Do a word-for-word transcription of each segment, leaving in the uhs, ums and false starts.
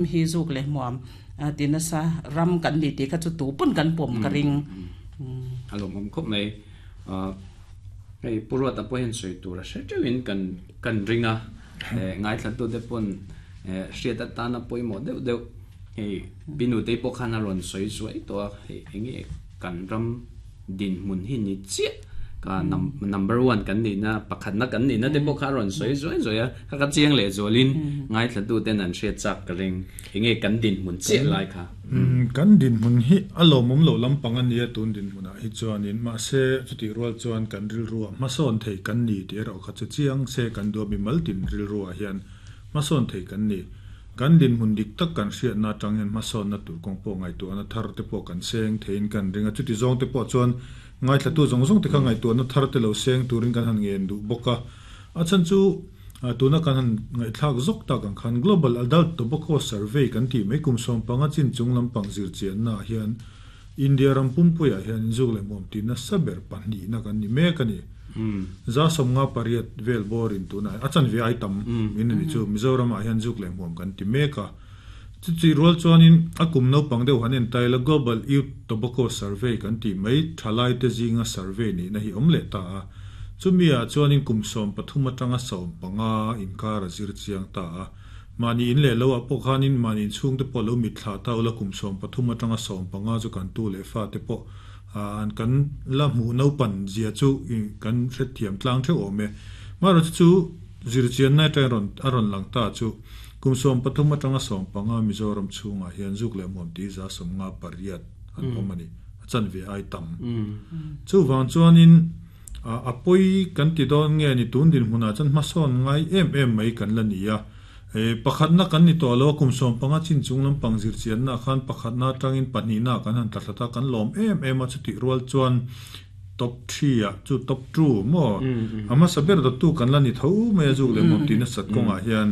Hi zuk leh hmuam ti nasa ram kan ni tih kha chu tu pawn kan pawm ka ring. A lawmawm khawp mai. Hei Pu Ruata pawh hian sawi tur a hre teuhin kan kan ring a, ngaithlatute pawn hriat atana pawimawh deuh deuh hei Pi Nutei pawh khan a rawn sawi zuai tawh a, hei enge kan ram dinhmun hi ni chiah ka number one kan nihna pakhatna kan nihna te pawh kha a rawn sawi zuai zuai a, kha ka chiang leh zualin ngaithlatuten an hriat chak ka ring enge kan dinhmun chiah lai kha. Kan dinhmun hi a lawmawm loh lampang a nia tun dinhmunah hi chuanin mahse chutih rual chuan kan rilruah hmasawn thei kan ni tih erawh kha chu chiang se kan duah mimal tin rilruah hian hmasawn thei kan ni. Kan dinhmun dik tak kan hriatna atang hian hmasawnna tur kawng pawh ngaihtuahna thar te pawh kan seng theiin kan ring a, chuti zawng te pawh chuan ngaithlatu zawng zawng te kha ngaihtuahna thar te lo seng turin kan han ngen duh bawk a. A chhan chu tuna kan han ngaihthlak zawk tak ang khan Global Adult Tobacco Survey kan tih mai kum sawm panga chin chung lampang zirchianna ah hian India ram pumpuiah hian inzuk leh hmuam tih nasa ber pahnihna kan ni mek a ni. Za sawmnga pariat vel bawrin tunah a chanve ai tam min a ni chu Mizoramah hian zuk leh hmuam kan ti mek a. Chuti rual chuanin a kum naupang deuh han entaila Global Youth Tobacco Survey kan tih mai thalaite zinga survey nihna hi awm leh ta a. Chumi ah chuanin kum sawm pathum atanga sawm panga inkar a zir chiang ta a. Mahni in leh lo ah pawh khanin mahni inchhungte pawh lo mitthlah ta ula kum sawm pathum atanga sawm panga chu kan tu leh fate pawh an kan la hmuh naupan zia chu kan hrethiam tlang theuh awm e. Marawhchu chu zirchianna atangin rawn a rawn lang ta chu kum sawm pathum atanga sawm panga Mizoram chhungah hian zuk leh hmuam tih za sawmnga pariat an awm a ni, a chanve ai tam. Chuvang chuanin a pawi kan ti dawn nge ni tun dinhmunah chuan hmasawn ngai em em mai kan la ni a. Pakhatna kan ni tawh lo a, kum sawm panga chin chung lampang zirchiannaah khan pakhatna atangin pahnihna kan han tla thlat a, kan lawm em em a, chutih rual chuan top three ah chu top two maw a hmasa ber dawttu kan la ni tho mai a, zuk leh hmuam tih nasat kawngah hian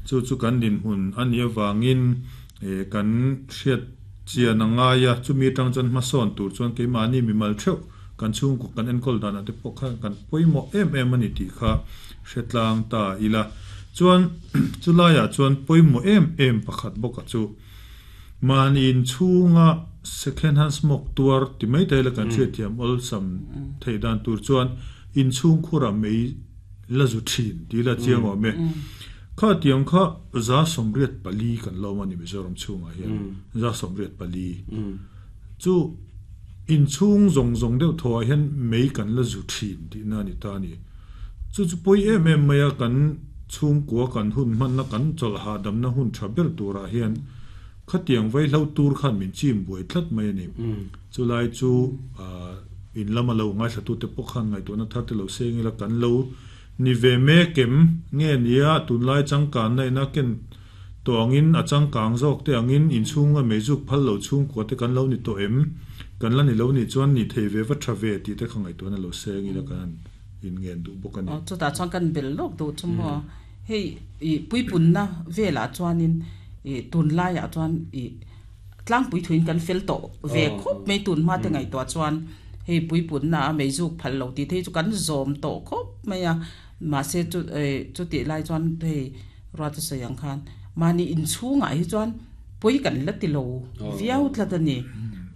chu chu kan dinhmun a nih avangin kan hriat chian a ngai a, chumi atang chuan hmasawn tur chuan keimahni mimal theuh kan chhungkaw kan enkawl danah te pawh khan kan pawimawh em em a ni tih kha hre tlang ta ila. Chuan chulaiah chuan pawimawh em em pakhat bawk a chu mahni inchhunga second hand smoke tuar ti mai thei la kan hriatthiam awlsam theih dan tur chuan inchhung khurah mei la zu thin tih la chiang awm e. Kha tiang kha za sawmriat pali kan lawm a ni Mizoram chhungah hian za sawmriat pali chu inchhung zawng zawng deuh thawhah hian mei kan la zu thin tihna a ni ta a ni. Chu chu pawi em em mai a kan chhungkua kan hun hmanna kan chawlh hahdamna hun tha ber turah hian khatiang vaihlo tur khan min chim buai tlat mai a ni. Chulai chu in lama lo ngaithlatute pawh khan ngaihtuahna thar te lo seng ila kan lo ni ve mek em nge nia tunlai changkanna ina ken tawh angin a changkang zawk te angin inchhunga meizuk phal lo chhungkua te kan lo ni tawh em kan la ni lo nih chuan ni thei ve va tha ve tih te kha ngaihtuahna lo seng ila kan han in ngen duh bawk a ni. Chutah chuan kan bel lawk duh chu maw hei ih puipunna velah chuanin ih tunlaiah chuan ih tlangpui thuin kan fel tawh ve khawp mai tun hma te ngaihtuah chuan hei puipunna a meizuk phal lo tih te hi chu kan zawm tawh khawp mai a mahse chu eh chutih lai chuan hei ruat a sawi ang khan mahni inchhungah hi chuan pawi kan la ti lo viau tlat a ni.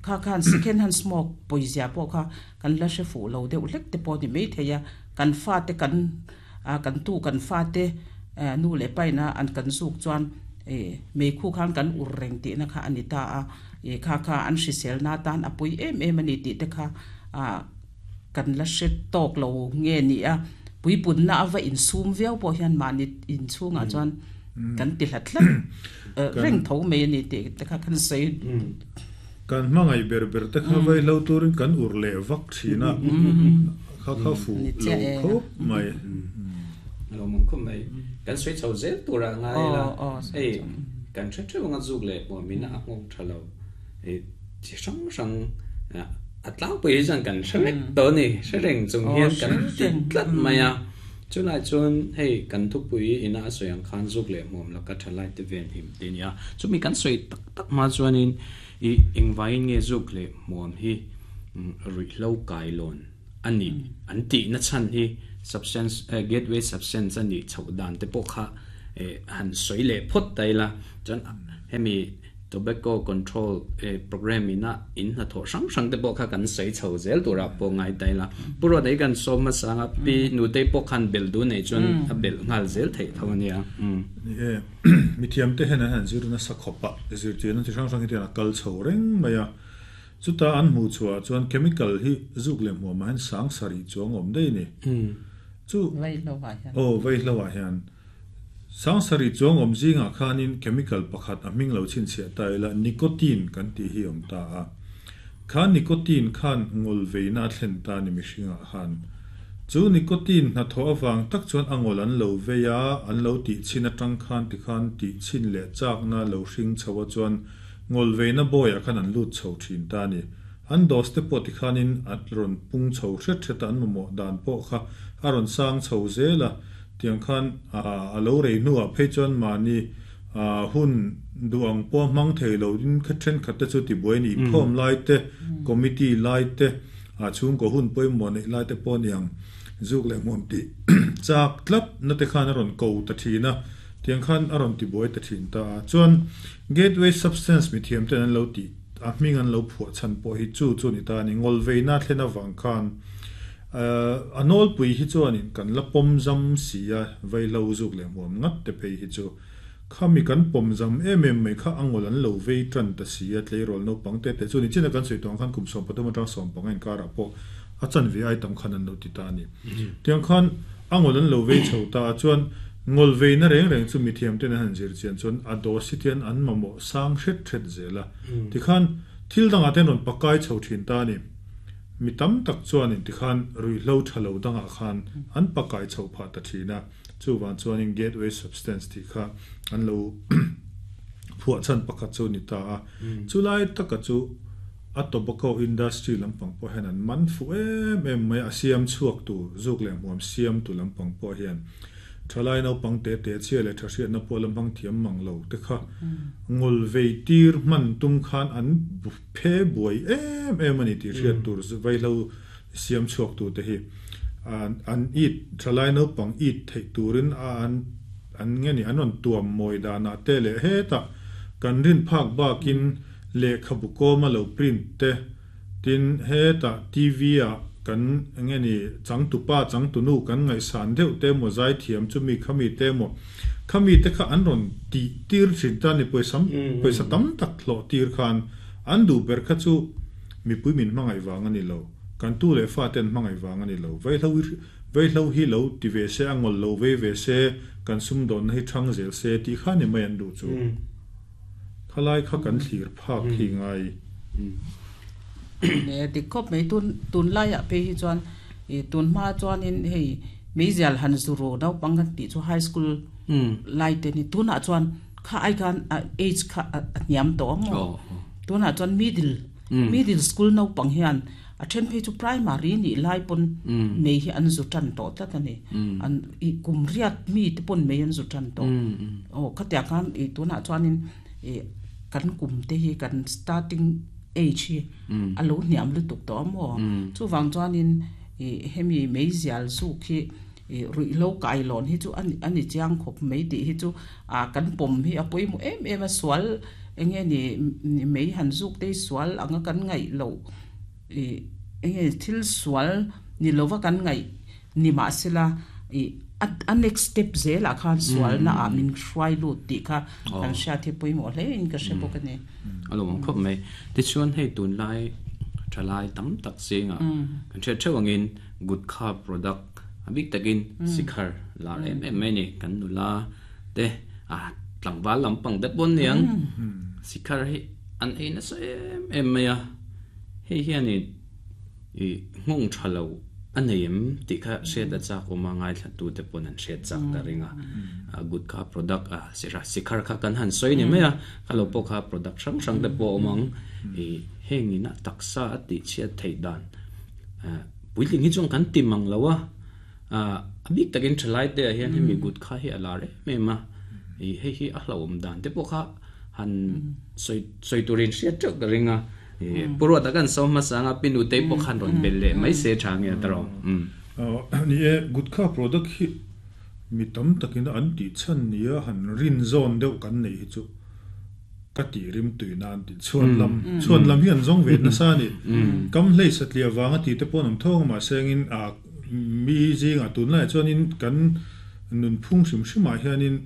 Kha khan second hand smoke pawizia pawh kha kan la hre fuh lo deuh hlek te pawh a ni maithei a, kan fate kan kan tu kan fate nu leh paina an kan zuk chuan meikhu khan kan ur reng tihna kha a ni ta a, kha kha an hriselna atan a pui em em a ni tih te kha kan la hre tawk lo nge ni a, puipunna a va insum viau pawh hian mahni inchhungah chuan kan ti hlat hlat reng tho mai a ni tih te kha kan sawi. Kan hmangaih ber ber te kha vaihlo turin kan ur leh vak thin a, kha kha fuh lo khawp mai. Lo mawm khawp mai. Kan sawi chho zel turah ngai ila, hei kan hre theuh anga zuk leh hmuamin a nghawng tha lo. Chi hrang hrang a tlangpui hi chuan kan hre vek tawh a ni, hre reng chung hian kan ti tlat mai a. Chulai chuan hei kan thupui ina a sawi ang khan zuk leh hmuam laka tha lai te ven him te nia. Chumi kan sawi tak tak hma chuanin i engvaiin nge zuk leh hmuam hi ruihhlo kailawn a nih an tihna chhan hi substance gateway substance a nih chhoh dan te pawh kha han soi le phot tai la chuan hemi tobacco control program ina in na tho sang sang te bo kha kan sei chho zel tura po ngai tai la puro dei kan som ma sanga pi nu te po khan bel du nei chon a bel ngal zel thei thonia um e mi thiam te hen han zir na sakhopa zir chen ti sang sang ti na kal chho reng maya chuta an mu chua chuan chemical hi zuk le mu ma han sang sari chuang om dei ni chu vai lo wa hian o vai lo wa hian sang sari chuang om zinga khanin chemical pakhat a ming lo chin che tai la nicotine kan ti hi om ta a khan nicotine khan ngol veina thlen ta ni mishinga khan chu nicotine na tho awang tak chuan angol an lo veya an lo ti chin atang khan ti khan ti chin le chak na lo hring chawa chuan ngol veina boya khan an lut chho thin ta ni an dos te pawh ti khanin at ron pung chho hret hret an mo dan pawh kha aron sang chho zela tiang khan a lo rei nuwa phei chuan mani hun duang pawh hmang thei lo din kha then khat te chu ti buai ni khom lai te committee lai te a chung ko hun pawimawh nei lai te pawh niang zuk leh hmuam ti chak tlat na te khan aron ko ta thina tiang khan aron ti buai ta thin ta chuan gateway substance mi thiam ten an lo ti a hming an lo phuah chan pawh hi chu chu ni ta ni ngol veina thlena wang khan anol pui hi chuanin kan la pawm zam sia vai lo zuk leh hmuam ngat te phei hi chu khami kan pawm zam em em mai kha angol an lo vei tan ta sia tleirawl naupang te te chu ni china kan sawi tawng khan kum sawm pathum atang sawm panga inkar ah pawh a chan ve ai tam khan an lo ti ta ni tiang khan angol an lo vei chho ta chuan ngol vei na reng reng chu mi thiam ten an han zir chian chuan a dosi tian an mamawh sang hret hret zela ti khan thil dangah ten rawn pakai chho thin ta ni mi tam tak chuan in ti khan rui hlo thalo danga khan an pakai chho pha ta thina chu wan chuan in gateway substance ti kha an lo phuah chan pakhat chu ni ta a chulai taka chu a tobacco industry lampang pawh hian an man fu em em mai a siam chhuak tu zuk leh hmuam siam tu lampang pawh hian thalai naupang te te chhia leh tha hriat na pawh lampang thiam mang lo te kha ngol vei tir hman tum khan an phe buai em em ani ti hriat tur vai lo siam chhuak tu te hi an an it thalai naupang it thei turin a an an nge ni an rawn tuam mawi dana te leh heta kan rin phak bakin lehkhabu kawma lo print te tin heta T V a kan nge ni changtupa changtunu kan ngaihsan deuh te maw zai thiam chu mi khami te maw khami te kha an rawn ti tir thin ta ni pawisam pawisa tam tak hlawh tir khan an duh ber kha chu mipui min hmangaih wang ani lo kan tu leh fa ten hmangaih wang ani lo vai hlo vai hlo hi lo ti ve se angol lo ve ve se kan sum dawn na hi thang zel se ti kha ni mai an duh chu khalai kha kan thlir phak hi ngai ne ti khop mai tun tun lai a pe hi chuan e tun ma chuan in hei meizial han zuro nau pang kan ti chu high school lai te ni tuna chuan kha ai kan age kha niam to mo tuna chuan middle middle school nau pang hian a then phei chu primary ni lai pon mei hi an zu tan to ta ta ni an i kum riat mi te pon mei an zu tan to o khatia kan i tuna chuan in e kan kum te hi kan starting age hi alo niam lu tuk to mo chu wang chuan in e hemi meizial zu khi rui lo kai lon hi chu ani ani chiang khop mei ti hi chu a kan pom hi a poi mu em em a sual enge ni mei han zuk te sual anga kan ngai lo e enge thil sual ni lova kan ngai ni ma sela e a next step zela khan sual na a min hruai lu ti kha kan sha the poi mo hle in ka she bok ani alo mong khop mai ti chuan hei tun lai thalai tam tak singa kan che chewangin good kha product abik takin sikhar la em em mai ni kan nula te a tlangwal lampang det bon niang sikhar hi an ein na sa em em mai a hei hian i ngong thalo aneim ti kha she da chak oma ngai thla tu te pon an she chak ta ringa a good kha product a sira sikhar kha kan han soi ni mai a khalo po kha product sang sang te po omang e hengina taksa ati chia thei dan puiling hi chong kan ti mang lawa a abik takin thalai te hian hemi good kha hi ala re me ma e hei hi a hlawm dan te po kha han soi soi turin sia chak ta ringa e puro ta kan som ma sanga pinu te po khan ron bel le mai se thang ya taro ni e good kha product hi Mi tam takin an ti chan nia han rin zon deuh kan nei hi chu ka ti rim tui nan ti chuan lam chuan lam hi an zong ve na sa ni kam hlei satlia wanga ti te pon am thong ma sengin a mi zinga tun lai chuan in kan nun phung sim sima hianin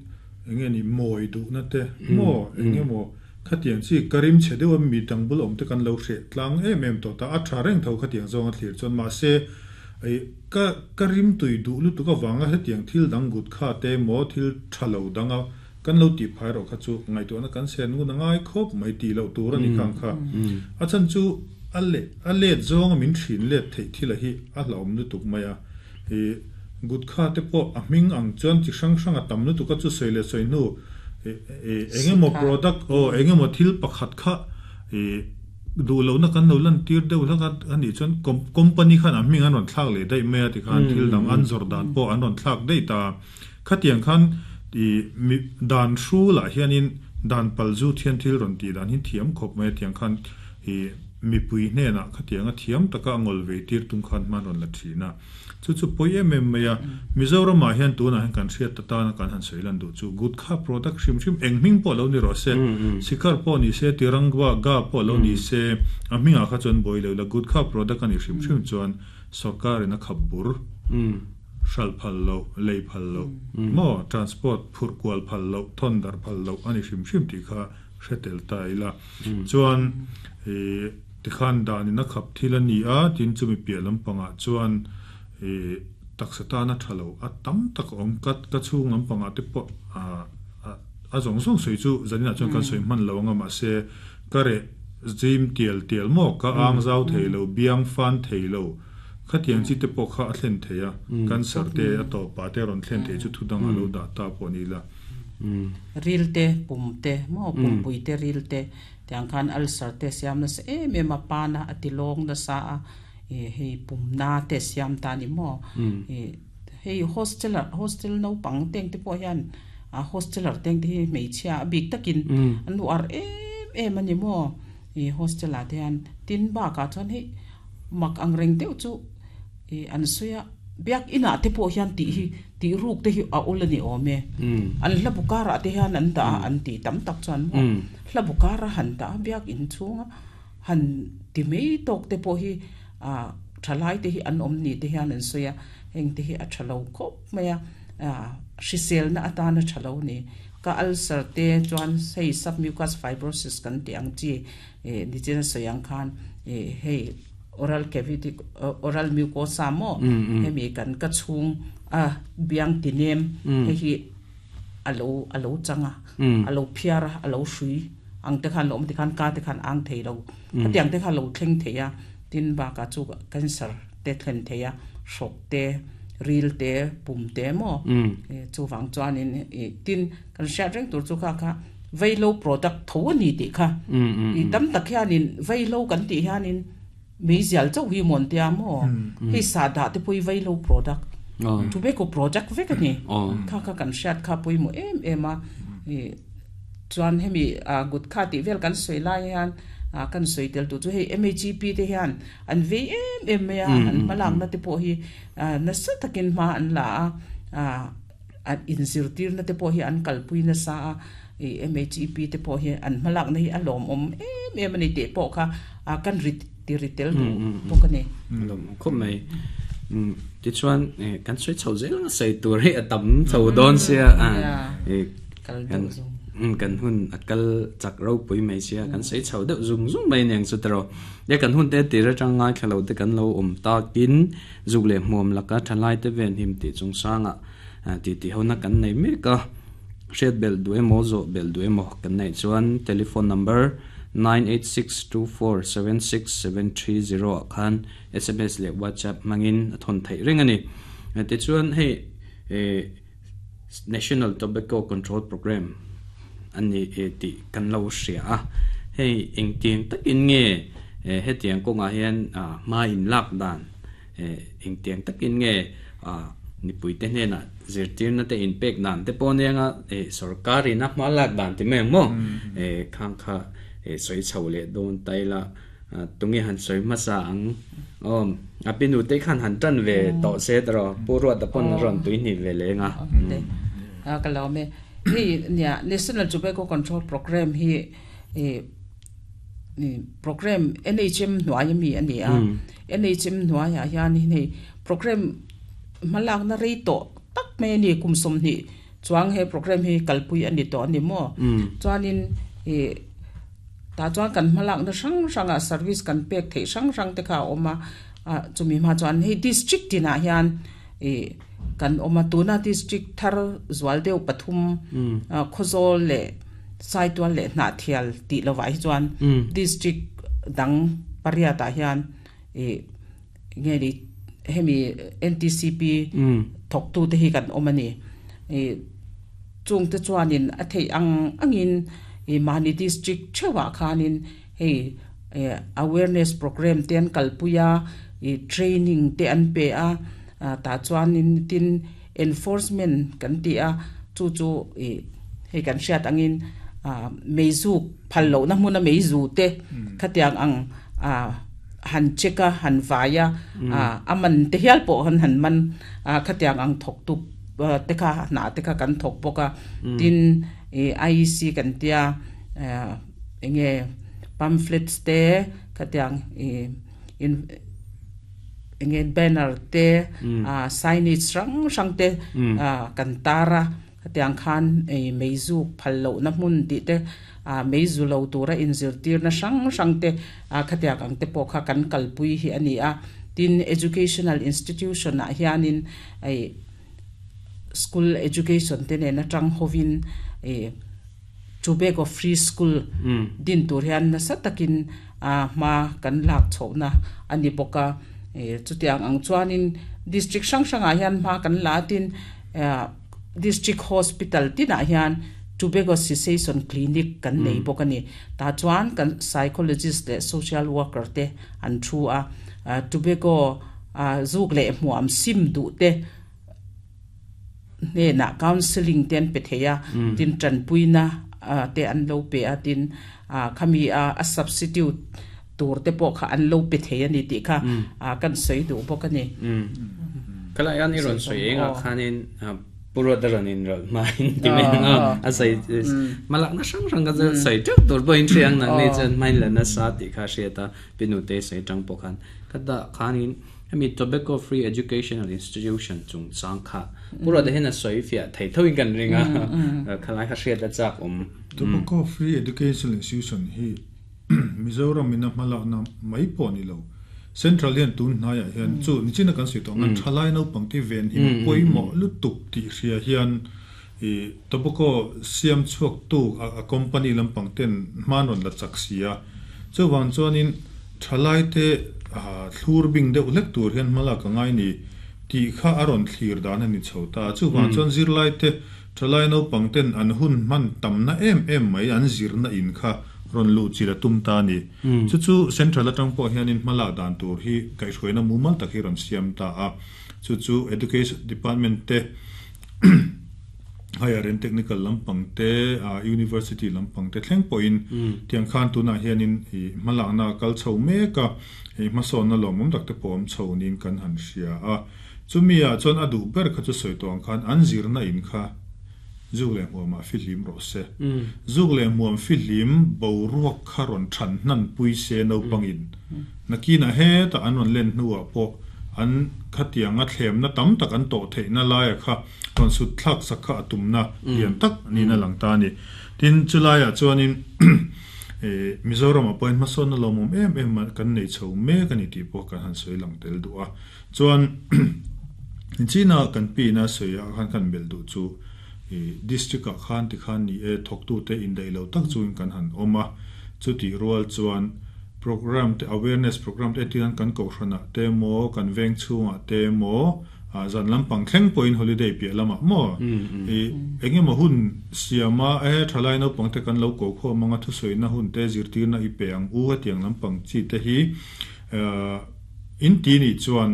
enge ni moi du na te mo enge mo khatiang chi karim chedewa mi tangbul om te kan lo hre tlang em em to ta a tha reng tho khatiang zong a thlir chuan ma se ai ka karim tui du lu tu ka wanga hetiang thil dang gut kha te mo thil thalo danga kan lo ti phai ro kha chu ngai to na kan sen ngu na ngai khop mai ti lo tur ani khang kha a chan chu ale ale zong min thin le thei thila hi a hlom lu tuk maya e gut kha te po a ming ang chuan chi sang sang a tam lu tu ka chu soile soinu e engemo product o engemo thil pakhat kha e du lo na kan lo lan tir deuh la ani chuan company khan a ming an ron thlak le dai me ti khan thil dang an jordan po an ron thlak dei ta khatiang khan ti mi dan shu la hianin dan palzu thian thil ron ti dan hin thiam khop mai tiang khan e mi pui hne na khatiang a thiam taka angol ve tir tum khan man ron la thina chu chu poi em em maya Mizoram ma hian tuna han kan hriat ta na kan han soilan du chu good kha product shim shim engming po lo ni ro se sikar po ni se tirangwa ga po lo ni se a minga kha chon boi lo la good kha product ani shim shim chuan sarkar ina khabur shal phal lo lei phal lo mo transport phur kwal phal lo thondar phal lo ani shim shim ti kha hretel ta ila chuan e tikhan dan ina khap thilani a tin chumi pialam panga chuan e taksata na thalo a tam tak om kat ka chung lam panga te po a a zong zong soi chu zanina chuan kan soi man lo nga ma se kare jim tiel tiel mo ka ang zau theilo biang fan theilo khatiang chi te po kha a thlen theia cancer te a to pa te ron thlen the chu thudang alo da ta po ni la ril te pum te mo pum pui te ril te tiang khan ulcer te siam na se em em a pa na atilong na sa a e hei pum na te siam ta ni mo e hei hostel hostel no pang teng te po hian a hosteler teng te mei chia big takin an lu ar em em ani mo e hostel a te han tin ba ka chuan hei mak ang reng deuh chu e an suya biak ina te po hian ti hi ti ruk te hi a ulani ome an hla bukara te hian an da an ti tam tak chuan mo hla bukara han da biak in chunga han ti mei tok te po hi a thalai te hi an om ni te hian an suya heng te hi a thalo khop maya a hrisel na atana thalo ni ka ulcer te chuan sei submucous fibrosis kan ti ang chi e ni chen soyang khan e hei oral cavity oral mucosa mo hemi kan ka chung a biang tinem he hi alo alo changa alo phiara alo shui ang te khan lom te khan ka te khan ang theilo tiang te khan lo thleng theia tin ba ka chu cancer te thlen theia shok te ril te pum te mo chu wang chuan in tin kan sha reng tur chu kha kha veilo product tho ni ti kha i tam tak hianin veilo kan ti hianin mi zial chau hi mon tia mo hi sa da te pui veilo product tobacco product ve ka ni kha kha kan shat kha pui mo em em a chuan hemi a gut kha ti vel kan soi lai hian a kan soi tel tu chu hei M A G P te hian an ve em em me a an malang na te po hi na sa takin ma an la a an inzir tir na te po hi an kalpui na sa a M A G P te po hi an malak na hi a lom om em em ani te po kha a kan rit ti ritel tu po ka ni lom khop mai ti chuan kan soi chho zel nga sei tur hi atam chho don sia a e kan kan hun akal chak ro pui mai sia kan sei chho deuh zung zung mai neng chu tro ya kan hun te ti ra chang ngai khalo te kan lo om ta kin zuk le hmuam laka thalai te ven him ti chung sanga ti ti hona kan nei me ka hriat bel du emo zo bel du emo kan nei chuan telephone number nine eight six two four seven six seven three zero khan S M S le WhatsApp mangin thon thei ring ani te chuan hei National Tobacco Control Program ani e ti kan lo hria a hei eng tiang takin nge he tiang ko nga hian ma in lak dan eng tiang takin nge ni pui te hne na zirtir na te in pek dan te pawh nia e sarkari na hma lak dan ti mai mo e khang kha e soi chho le don tai la Tunge han soi ma sa ang om apinu te khan han tan ve to se tro puro ta pon ron tui ni ve le nga a ka lo me hi nia National Tobacco Control Program hi e ni program N H M nuai mi ani a N H M nuai ya hian hi program malak na rei to tak me ni kum som ni chuang he program hi kalpui ani to ani mo chuanin e ta chuan kan malak na sang sanga service kan pek thei sang sang te kha oma a chumi ma chuan hei district tina hian e kan oma tuna district thar zwaldeu pathum khozol le saitual le na thial ti lowai chuan district dang paria ta hian e nge ni hemi N T C P thok tu te hi kan omani e chung te chuanin a thei ang angin e mani district chewa khanin hei awareness program ten kalpuya e training te an pe a ta chuanin tin enforcement kan ti a chu chu e hei kan hriat angin meizu phallo na hmuna meizu te khatiang ang a han cheka han vaya aman te hial po han han man khatiang ang thok tu te kha na te kha kan thok poka tin e I E C kan tia enge pamphlets te khatiang e in enge banner te signage rang rang te kan tara khatiang khan e meizu phallo na hmun ti te a meizu lo tura inzir tir na sang sang te a khatiang ang te pawh kha kan kalpui hi ani a tin educational institution a hianin ai school education te ne na tang hovin e tobacco free school din tur hian na satakin a ma kan lak chhona ani boka e chutiang ang chuanin district sang sang a hian ma kan la tin district hospital tin a hian tobacco cessation clinic kan nei bokani ta chuan kan psychologist le social worker te an thu a tobacco zuk le hmuam sim du te ne na counseling ten pe theya tin tran puina te an lo pe a tin khami a substitute tur te pawh kha an lo pe theya ni ti kha kan sei du bokani kala yan iron soi enga khanin puro daran in rol main ti me nga a sai malak na sang sang ka sai tuk tor bo in chiang nang ne chen main la na sa ti kha she ta pinu te sai tang po khan kada khanin ami tobacco free educational institution chung chang kha puro de hena soi fia thei thoin kan ringa khalai kha she da chak um tobacco free educational institution hi Mizoram ina malak na mai po ni lo Central hian tun na ya hian chu nichina kan sui to ngan thalai no pangti ven hi poi mo lu tuk ti ria hian e tobacco siam chuak tu a company lam pangten manon la chaksia chu wang chuanin thalai te thlur bing deuh lek tur hian mala ka ngai ni ti kha aron thlir dan ani chhota chu wang chuan zirlai te thalai no pangten an hun man tamna em em mai an zirna in kha ron lu chira tum ta ni chu chu central atang pawh hianin hmala dan tur hi kaihhruaina mumal tak hi ron siam ta a chu chu education department te higher and technical lampang te university lampang te thleng pawhin tiang khan tuna hianin i hmalak na kal chho meka hei hmasawn na lawmawm tak te pawh awm chho niin kan han hria a chumi ah chuan a duh ber kha chu sawi tawh ang khan an zirna in kha zuk le hmuam ah fihlim rawh se zuk le hmuam fihlim boruak kha rawn than hnan pui se naupangin nakina heta an rawn len hnuah pawh an khatianga thlemna tam tak an tawh theihna laia kha rawn sut thlak sak kha a tumna lian tak niin a lang ta ani tin chulaiah chuanin e Mizoram a point hmasawn na lawmawm em em kan nei chho mek ani tih pawh kan han sawi lang tel duh a chuan china kan pina sawi ah khan kan bel duh chu district a khan ti khan ni e thok tu te in dei lo tak chuin kan han oma chu ti rual chuan program te awareness program te tian kan ko hrana te mo kan veng chunga te mo zan lampang thleng point holiday pi lama mo e enge mo hun siama e thalai no pangte kan lo ko kho manga thu soina hun te zirtir na i peang u tiang lampang chi te hi in ti ni chuan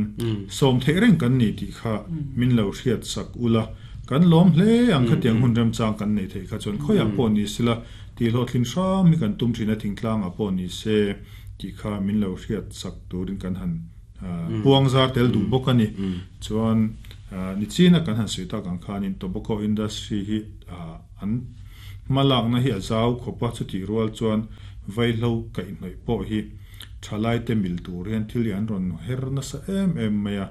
som the reng kan ni ti kha min lo hriat sak ula kan lom hle ang kha tiang hun ram chang kan nei thei kha chuan khoya pawh ni sila Ti lo thlin hram mi kan tum thina thingtlang a pawh ni se ti kha min lo hriat sak turin kan han puang zar tel du bawk ani. Chuan ni china kan han suita kan khanin tobacco industry hi an malak na hi azau khopa chu ti rual chuan vaihlo kai hnoi pawh hi thalai te mil tur hian thil an ron her na sa em em maya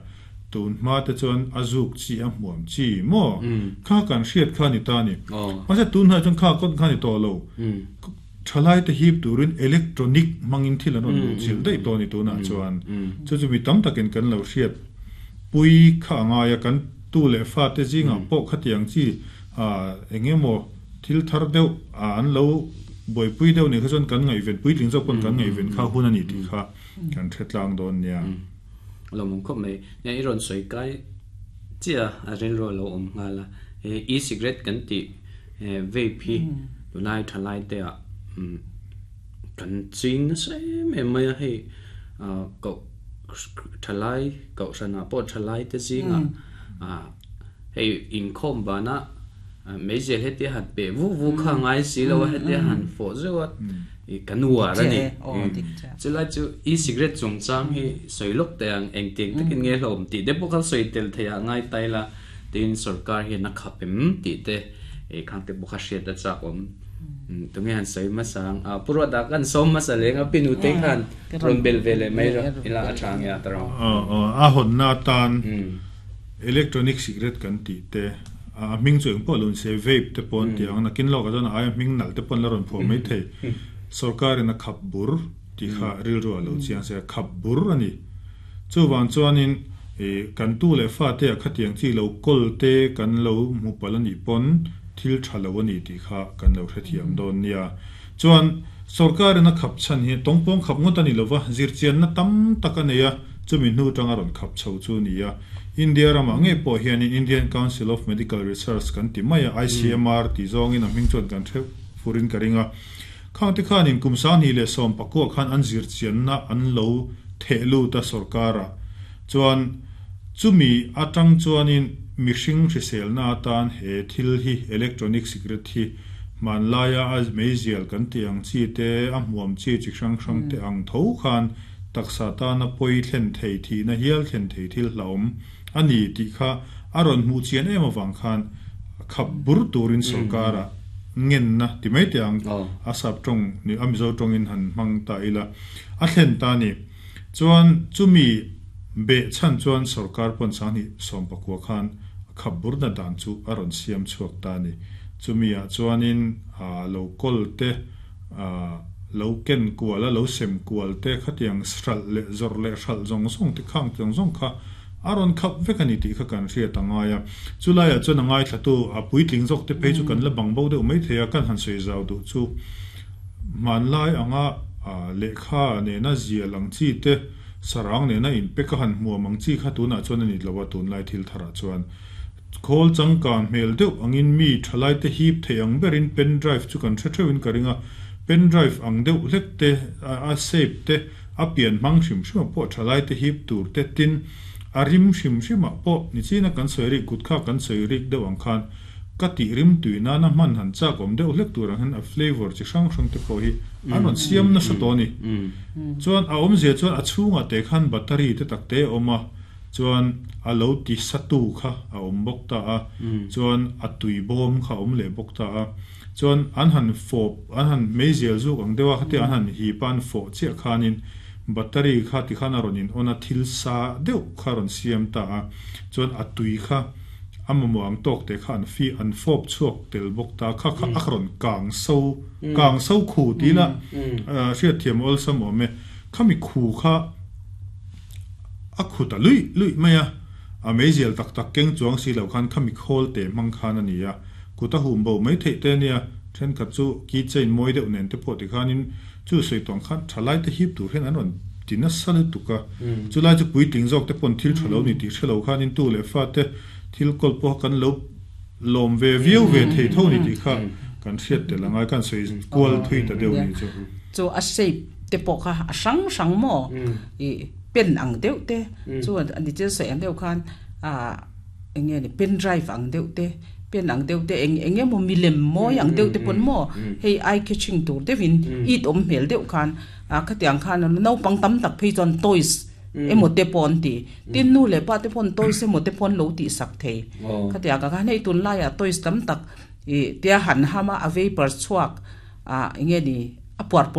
tun ma te chuan azuk chi a hmuam chi mo kha kan hriat kha ni ta ni ma se tun ha chuan kha kon kha ni to lo thalai te hip turin electronic mangin thil an ron chil dei to ni tuna chuan chu chu mi tam takin kan lo hriat pui kha anga ya kan tu le fa te zinga pawh khatiang chi a engemaw thil thar deuh an lo boi pui deuh ni kha chuan kan ngai ven pui tling zawk pawn kan ngai ven kha hun ani ti kha kan thetlang dawn nia lo mong khop mai nya i ron soi kai chia a ren ro lo om nga la e cigarette kan ti vape hi tunai thalai te a kan ching na se me mai hei a ko thalai ko sana po thalai te zinga a hei in khom ba na mấy giờ hết tiệt hạt bể vu vu khang ngai xí lo hết tiệt hàn phổ rồi i kanua ra ni chu lai chu e cigarette chung chang hi soi lok te ang eng ting takin nge hlom ti de pok soi tel theya ngai tai la tin sarkar hi na khapem ti te e khang te bokha hriat ta chak om tu nge han soi ma sang a puro da kan som ma sa leng a pinu te khan ron bel vele mai ro ila a chang ya taro a a hon na tan electronic cigarette kan ti te a ming chu eng pawh lun se vape te pon tiang na kin lo ka chuan ai ming nal te pon la ron pho mai thei sarkar in a khap bur ti kha ril ro lo chiang se khap bur ani chu wan chuanin e kan tu le fa te a khatiang chi lo kol te kan lo mu palani pon thil thalo ani ti kha kan lo hrethiam don nia chuan sarkar in a khap chan hi tongpong khap ngot ani lova zir chian na tam tak aneya chumi hnu tanga ron khap chho chu nia India rama nge po hian in Indian Council of Medical Research kan ti maya I C M R ti zawng in a hming chuan kan the furin ka ringa khang te khan in kumsan hi le som pakua khan an zir chian na an lo thehlu ta sarkara chuan chumi atang chuan in mihring hrisel na tan he thil hi electronic cigarette hi man laia az meizial kan ti ang chi te a hmuam chi chi hrang hrang te ang tho khan taksa ta na poi thlen thei thi na hial thlen thei thil hlaum ani ti kha aron mu chian em awang khan khap bur turin sarkara ngen na ti mai te ang asap tong ni amizo tong in han mang ta ila a thlen ta ni chuan chumi be chan chuan sarkar pon sang ni som pakwa khan khap bur na dan chu aron siam chuak ta ni chumi a chuanin a local te a lo ken kuala lo sem kual te khatiang sral le zor le hral zong zong te khang tong zong kha aron khap vekani ti kha kan hria tangaya chulaya chuan angai thlatu a puitling jok te phei chu kan la bangbo deuh mai theia kan han sei zau du chu manlai anga lekha ne na zia lang chi te sarang ne na in peka han hmuam ang chi kha tuna chuan ani lawa tun lai thil thara chuan khol changkan hmel deuh angin mi thalai te hip theiang berin pen drive chu kan thre theuin ka ringa pen drive ang deuh hlek te a shape te a pian mang hrim hrim pawh thalai te hip tur te tin arim hrim hrima pawh ni china kan sawi kut kha kan sawi rik deuh ang khan ka ti rim tuina na man han chak awm deuh hlek tur ang hian a flavor chi hrang hrang te pawh hi an rawn siam nasa tawh ni chuan a awmzia chuan a chhungah te khan battery te tak te awm a chuan a lo ti satu kha a awm bawk ta a chuan a tui bawm kha awm leh bawk ta a chuan an han fawp an han meizial zuk ang deuh a khati an han hi pan fawh chiah khanin battery kha ti khan a rawn in on a thil sa deuh kha rawn siam ta a chuan a tui kha a mamawh ang tawk te kha an fi an fawp chhuak tel bawk ta kha kha a rawn kang so kang so khu ti la hriat thiam awlsam awm e khami khu kha a khu ta lui lui mai a a meizial tak tak keng chuang si lo khan khami khawl te hmang khan ani a kuta hum bo mai thei te nia then khat chu keychain mawi deuh nen te pawh ti khanin chu sei tawng khan thalai te hip tur hian an rawn tina salu tuka chulai chu puitling zawk te pawn thil thalo ni ti hrelo khanin tu le fa te thil kol pawh kan lo lawm ve viau ve thei tho ni ti kha kan hriat tel angai kan sei kual thui ta deuh ni chu chu a shape te pawh kha a hrang hrang maw i pen ang deuh te chu ani chen sei ang deuh khan a enge ni pen drive ang deuh te Pen ang deuh te eng enge mo milem moi ang deuh te pon mo hei eye catching tur devin it om hmel deuh khan a khatiang khan no pang tam tak phei chon toys emo te pon ti tin nu le pa te pon toys emo te pon lo ti sak thei khatiang ka khan hei tun lai a toys tam tak i tia han hama a vapor chuak a enge ni a puar pol